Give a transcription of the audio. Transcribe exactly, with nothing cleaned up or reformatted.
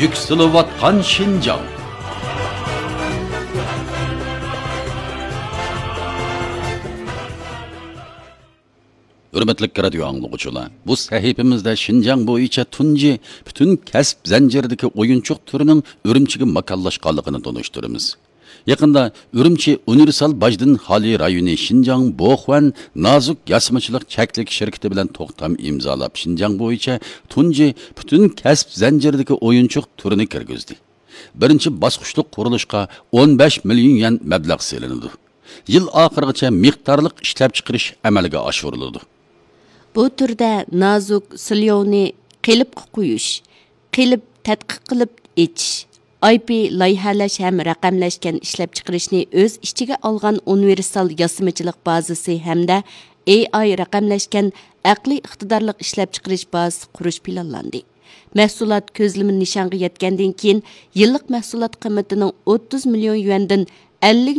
يۈكسىلىۋاتقان شىنجاڭ. ھۆرمەتلىك رادىيو ئاڭلىغۇچىلار، بۇ سەھىپىمىزدە شىنجاڭ بويىچە تۇنجى پۈتۈن كەسىپ زەنجىرىدىكى ئويۇنچۇق تۈرىنىڭ ئۈرۈمچىگە ماكانلاشقانلىقىنى تونۇشتۇرىمىز. يېقىندا ئۈرۈمچى ئۇنىۋېرسال باجدىن خالىي رايونى شىنجاڭ بوخۇەن نازۇك ياسىمىچىلىق چەكلىك شىركىتى بىلەن توختام ئىمزالاپ، شىنجاڭ بويىچە تۇنجى پۈتۈن كەسىپ زەنجىرىدىكى ئويۇنچۇق تۈرىنى كىرگۈزدى. بىرىنچى باسقۇچلۇق قۇرۇلۇشقا ئون بەش مىليون يۈەن مەبلەغ سېلىنىدۇ. يىل ئاخىرىغىچە مىقدارلىق ئىشلەپچىقىرىش ئەمەلگە ئاشۇرۇلىدۇ. بۇ تۈردە نازۇك سليوۋنى قېلىپقا قويۇش، قېلىپ تەتقىق قىلىپ ئېچىش، ئاي پى لايىھەلەش ھەم رەقەملەشكەن ئىشلەپچىقىرىشنى ئۆز ئىچىگە ئالغان ئۇنىۋېرسال ياسىمىچىلىق بازىسى ھەمدە ئېي ئاي رەقەملەشكەن ئەقلىي ئىقتىدارلىق ئىشلەپچىقىرىش بازىسى قۇرۇش پىلانلاندى. مەھسۇلات كۆزلىمە نىشانغا يەتكەندىن كېيىن، يىللىق مەھسۇلات قىممىتىنىڭ ئوتتۇز مىليون يۈەندىن ئەللىك